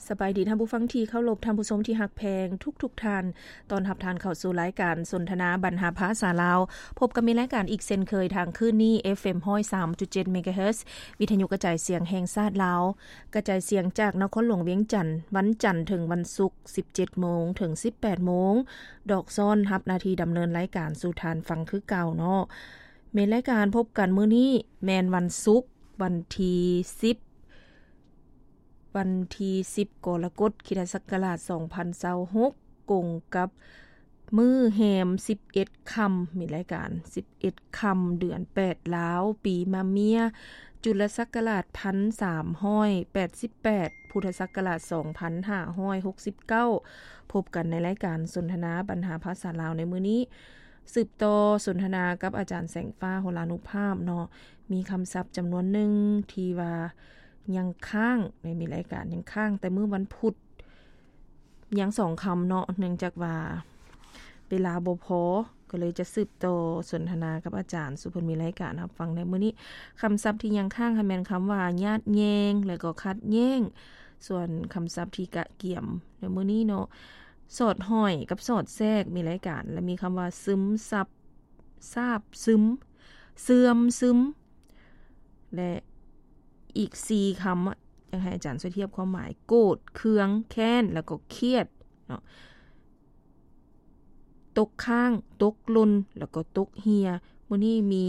ສະບາຍດີທ່ານຜູ້ຟັງທີ່ເຄົາລົບ, ທ່ານຜູ້ຊົມທີ່ຮັກແພງທຸກໆທ່ານ. ຕ້ອນຮັບທ່ານເຂົ້າສູ່ລາຍການສົນທະນາບັນຫາພາສາລາວ. ພົບກັບມີລາຍການອີກເຊັ່ນເຄີຍທາງຄື້ນນີ້ ເອັຟເອັມ ຮ້ອຍສາມຈຸດເຈັດ ເມກາເຮີດ, ວິທະຍຸກະຈາຍສຽງແຫ່ງຊາດລາວ, ກະຈາຍສຽງຈາກນະຄອນຫຼວງວຽງຈັນ, ວັນຈັນເຖິງວັນສຸກ ສິບເຈັດໂມງເຖິງສິບແປດໂມງ. ດອກຊ້ອນຮັບໜ້າທີ່ດຳເນີນລາຍການສູ່ທ່ານຟັງຄືເກົ່າເນາະ. ແມ່ນລາຍການພົບກັນມື້ນີ້ແມ່ນວັນສຸກ ວັນທີສິບ ວັນທີສິບ ກໍລະກົດ ຄຣິສຕະສັກກະລາດ ສອງພັນຊາວຫົກ ກົງກັບມື້ແຮມ ສິບເອັດຄ່ຳ ມີລາຍການ ສິບເອັດຄ່ຳ ເດືອນແປດລາວ ປີມະເມຍ ຈຸລະສັກກະລາດ ພັນສາມຮ້ອຍແປດສິບແປດ ພຸດທະສັກກະລາດ ສອງພັນຫ້າຮ້ອຍຫົກສິບເກົ້າ. ພົບກັນໃນລາຍການສົນທະນາບັນຫາພາສາລາວໃນມື້ນີ້ ສືບຕໍ່ສົນທະນາກັບອາຈານແສງຟ້າ ໂຫລານຸພາບເນາະ. ມີຄຳສັບຈຳນວນໜຶ່ງທີ່ວ່າຍັງຄ້າງ ໃນມີລາຍການຍັງຄ້າງແຕ່ມື້ວັນພຸດ ຍັງສອງຄຳເນາະ, ເນື່ອງຈາກວ່າເວລາບໍ່ພໍ ກໍເລີຍຈະສືບຕໍ່ສົນທະນາກັບອາຈານສູ່ເພິ່ນມີລາຍການຮັບຟັງໃນມື້ນີ້. ຄຳສັບທີ່ຍັງຄ້າງຫັ້ນແມ່ນຄຳວ່າຍາດແຍ່ງ ແລະກໍຂັດແຍ້ງ. ສ່ວນຄຳສັບທີ່ກະກຽມໃນມື້ນີ້ເນາະ ສອດຫ້ອຍກັບສອດແຊກ ມີລາຍການ ແລະມີຄຳວ່າຊຶມຊັບ ຊາບຊຶມ ເສື່ອມຊຶມ ແລະອີກສີ່ຄຳ ຢາກໃຫ້ອາຈານຊ່ວຍທຽບຄວາມໝາຍ ໂກດ ເຄືອງ ແຄ້ນ ແລ້ວກໍຄຽດເນາະ. ຕົກຄ້າງ ຕົກຫຼົ່ນ ແລ້ວກໍຕົກເຫ່ຍ. ມື້ນີ້ມີ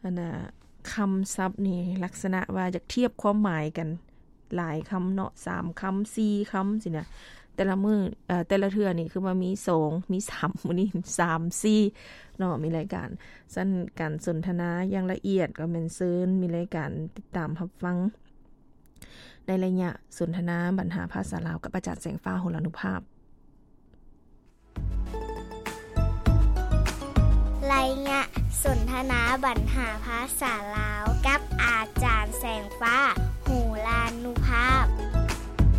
ອັນນ່າ ຄຳສັບນີ້ລັກສະນະວ່າຢາກທຽບຄວາມໝາຍກັນ ຫຼາຍຄຳເນາະ ສາມຄຳ ສີ່ຄຳ ຊີ້ນະ. ແຕ່ລະມື້ ເອີ ແຕ່ລະເທື່ອນີ້ຄືວ່າມີສອງ ມີສາມ ມື້ນີ້ສາມ ສີ່ເນາະ ມີລາຍການ. ຊັ້ນການສົນທະນາຢ່າງລະອຽດ ກໍແມ່ນເຊີນມີລາຍການຕິດຕາມຮັບຟັງ ໃນໄລຍະສົນທະນາບັນຫາພາສາລາວ ກັບອາຈານແສງຟ້າ ໂຫລານຸພາບ. ໄລຍະສົນທະນາບັນຫາພາສາລາວ ກັບ